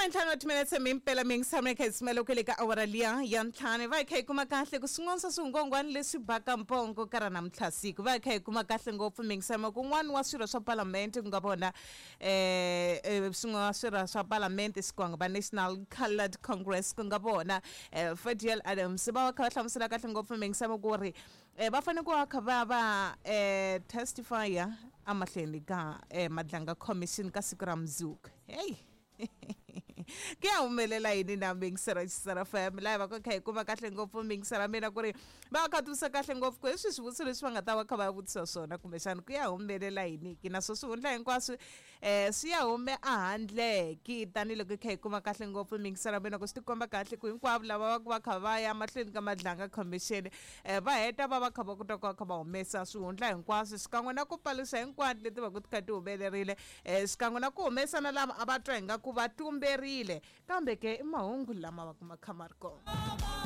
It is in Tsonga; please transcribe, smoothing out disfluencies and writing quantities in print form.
Khumentlhanu wa timinetse mimpela mi yingisana kha hi simela ku le ka awara liya ya ntlhanu. Va hi kha hi kuma kahle ku swin'wana swa swingongwani leswi baka mpongo ka ra namuntlha siku. Va hi kha hi kuma kahle ngopfu mi yingisana kun'wana wa swirho swa palamende ku nga vona swin'wana wa swirho swa palamende xikwanga va National Coloured Congress ku nga vona Fadiel Adams va va kha va hlamusela kahle ngopfu mi yingisana ku ri va fanele ku va kha va va testify emahlweni ka Madlanga Commission ka siku ra mundzuku. Hey ku ya humelela yini na mingisera Xisera FM laha va ka kha hi kuma kahle ngopfu mingisera mina ku ri va kha tivisa kahle ngopfu ku hi swi swivutiso leswi va nga ta va kha va vutisa swona kumbexana ku ya humelela yini ki naswo swihundla hinkwaswo swi ya hume ahandle ki tanihiloko hi kha hi kuma kahle ngopfu mingisera mina ku swi tikomba kahle ku hinkwavo lava va ku va kha va ya mahlweni ka Madlanga Commission va heta va va kha va kota ku va kha va humesa swihundla hinkwaswo xikan'we na ku paluxa hinkwato leti va ku ti kha ti humelerile xikan'we na ku humesa na lava a va twa ingaku va tumberile kambe ke i mahungu lama va ku ma kha ma ri kona.